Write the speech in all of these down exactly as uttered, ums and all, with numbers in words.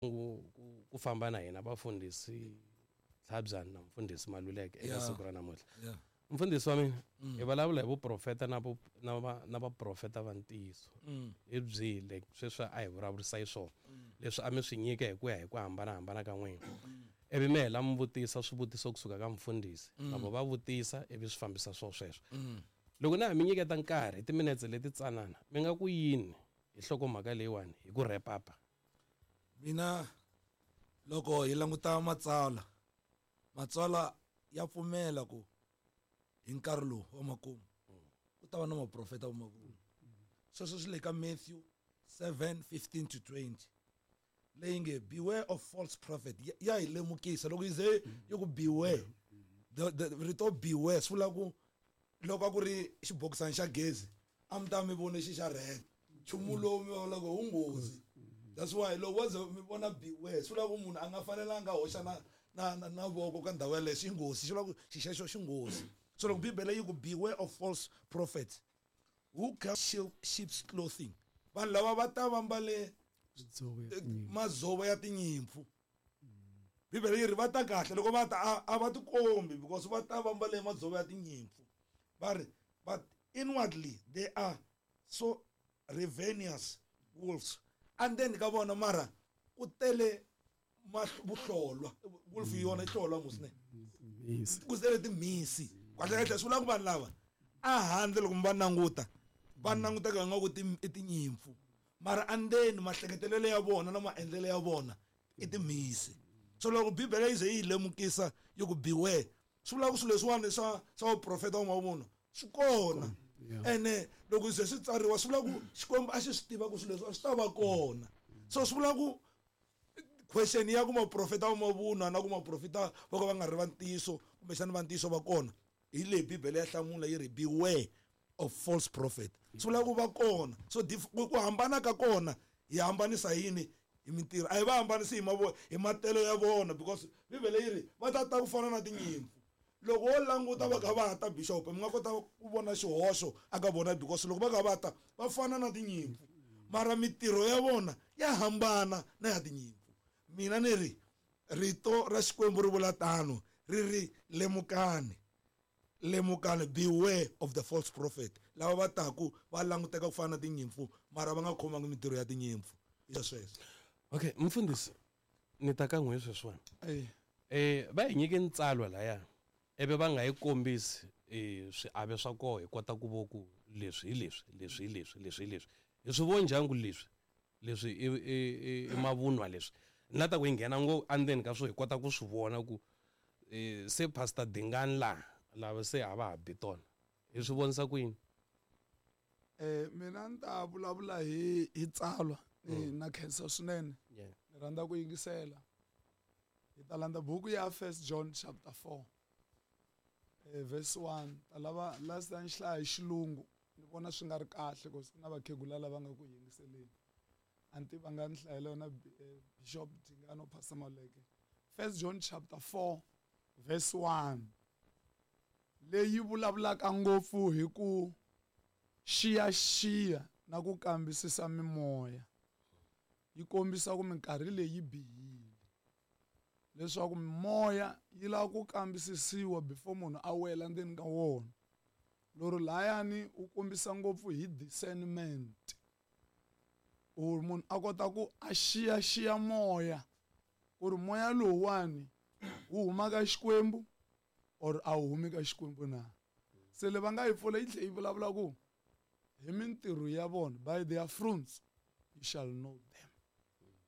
Ku ku famba na hina vafundhisi Tlhabyana na mfundhisi Maluleke eka Yeah. siku ra namuntlha. Yeah. Mfundhisi wa mina, hi vulavula hi vuprofeta na vu na va na vaprofeta va ntiyiso. Mm. Hi byihi like sweswi a hi vulavurisa hi swona leswi a mi swi nyika hi ku ya hi ku hambanahambana ka n'wina, ivi mi hela mi vutisa swivutiso kusuka ka mfundhisi, na vo va vutisa, ivi swi fambisa swo sweswo. Loko na ha mi nyiketa nkarhi hi timinetse leti tsanana, mi nga ku yini hi nhlokomhaka leyiwani hi ku wrap up? Mina loko hi languta matsalwa, matsalwa ya pfumela ku hi nkarhi lowu wa makumu ku ta va na maprofeta va mavunwa. Sweswo swi le ka Matthew seven fifteen to twenty, leyi nge beware of false prophet. Ya, ya hi lemukisa loko yi ze yi ku beware, the, the rito beware swi vula ku loko a ku ri xibokisana xa gezi a mi ta mi vone xi xa red, nchumu lowu mi vona ku wu nghozi. That's why loko wo ze mi vona beware swi vula ku munhu a nga fanelanga a hoxa na, na, na, na voko ka ndhawu yaleyo, xi nghozi, xi vula ku xi xexo xi nghozi. So loko Bibele yi ku beware of false prophets who come sheep's clothing, vanhu lava va ta va mbale madzovo ya tinyimpfu. Bibele yi ri va ta kahle loko va ta a, a va tikombi because va ta va mbale madzovo ya tinyimpfu. Va ri but inwardly they are so ravenous wolves. And then ka vona mara ku tele vuhlolwa, wolf hi yona yi hlolwa mos ne, ku tele timhisi. Kahle kahle swi vula ku vanhu lava a handle loko mi va languta va languteka nga ku i tinyimpfu, mara andzeni mahleketelelo ya vona na maendlelo ya vona i timhisi. So loko Bibele yi ze yi lemukisa yi ku beware, swi vula ku swilo leswiwani swa swa vuprofeta wa mavunwa swi kona. Ene loko se swi tsariwa swi vula ku Xikwembu a xi swi tiva ku swilo leswi a swi ta va kona. So swi vula ku question ya ku maprofeta wa mavunwa na ku maprofeta va ka va nga ri va ntiyiso kumbexana va ntiyiso va kona, hi leyi Bibele ya hlamula yi ri beware of false prophet. Swi vula ku va kona. So ku hambana ka kona hi hambanisa yini? Hi mintirho. A hi va hambanisi hi mavo hi matelo ya vona because Bibele yi ri va ta ta ku fana na tinyimpfu. Loko wo languta va kha va ta bishop mi nga kota ku vona xihoxo aka vona because loko va kha va ta va fana na tinyimpfu, mara mintirho ya vona ya hambana na ya tinyimpfu. Mina ni ri rito ra Xikwembu ri vula tano, ri ri lemukani, lemukani, beware of the false prophet. Lava va taku va languteka ku fana na tinyimpfu mara va nga khomangi mintirho ya tinyimpfu. Hi sweswo. Okay, mfundhisi ni ta ka n'we sweswiwani. Eh va hi nyike ntsalwa laya ivi va nga yi kombisi eh swiave swa koho hi kota ku vo ku leswi hi leswi, leswi hi leswi, leswi hi leswi. Hi swi vo njhani ku leswi leswi i, i, i mavunwa leswi? Ni la ta ku yi nghena ngo endzeni ka swo hi kota ku swi vona ku eh se Pastor Dingani laha lava se a va ha bi tona. Hi swi vonisa ku yini? Eh mina ni ta vulavula hi hi tsalwa ni na khensa swinene. Ni rhandza ku yingisela. Hi ta landza buku ya First John chapter four. Eh verse one. Ta lava last time hlaya hi xilungu ni vona swi nga ri kahle because ku na vakhegula lava nga ku yingiseleni. Anti va nga ni hlayela yona Bishop Dingano Pastor Maluleke. First John chapter four verse one. Leyi vulavulaka ngopfu hi ku xiyaxiya na ku kambisisa mimoya. Yi kombisa ku minkarhi leyi bihile, leswaku mimoya yi lava ku kambisisiwa before munhu a wela ndzeni ka wona. Loro layani u kombisa ngopfu hi discernment, or munhu a kota ku a xiyaxiya moya ku ri moya lowuwani wu huma ka Xikwembu or a wu humi ka Xikwembu na. Se le va nga yi pfula yi tlhe yi vulavula ku hi mintirho ya vona, by their fruits you shall know them.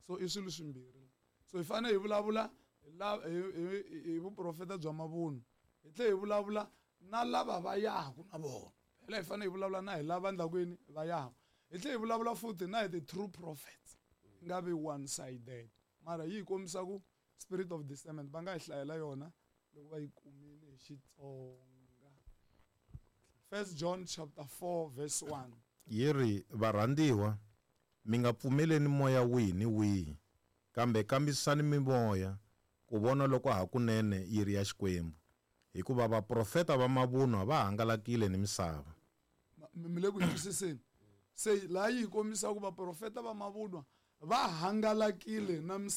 So i swilo swimbirhi. So hi fanele hi vulavula hi hi vuprofeta bya mavunwa, hi tlhe hi vulavula na lava va yaku na vona. Phela hi fanele hi vulavula na hi lava endlaku va yaku. Hi tlhe hi vulavula futhi na hi ti true prophets, nga vi one sided. Mara yi hi kombisa ku spirit of discernment va nga hi hlayela yona loko va yi kumile hi Xitsonga. First John chapter four verse one. Yi ri varhandziwa, mi nga pfumeleni moya wihi ni wihi, kambe kambisisani mimoya ku vona loko hakunene yi ri ya Xikwembu, hikuva vaprofeta va mavunwa va hangalakile ni misava. Mi le ku twisiseni? Se laha yi kombisa ku vaprofeta va mavunwa va hangalakile na misava.